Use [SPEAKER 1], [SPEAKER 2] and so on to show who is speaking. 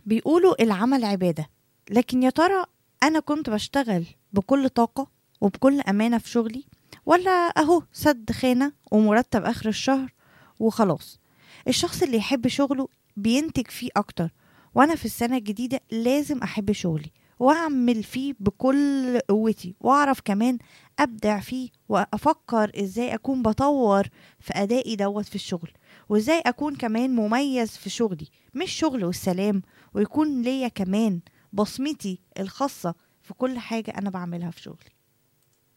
[SPEAKER 1] بيقولوا العمل عبادة، لكن يا ترى أنا كنت بشتغل بكل طاقة وبكل أمانة في شغلي، ولا أهو سد خانة ومرتب آخر الشهر وخلاص؟ الشخص اللي يحب شغله بينتج فيه أكتر، وأنا في السنة الجديدة لازم أحب شغلي وأعمل فيه بكل قوتي، وأعرف كمان أبدع فيه، وأفكر إزاي أكون بطور في أدائي في الشغل، وإزاي أكون كمان مميز في شغلي، مش شغل والسلام، ويكون ليا كمان بصمتي الخاصة في كل حاجة أنا بعملها في شغلي.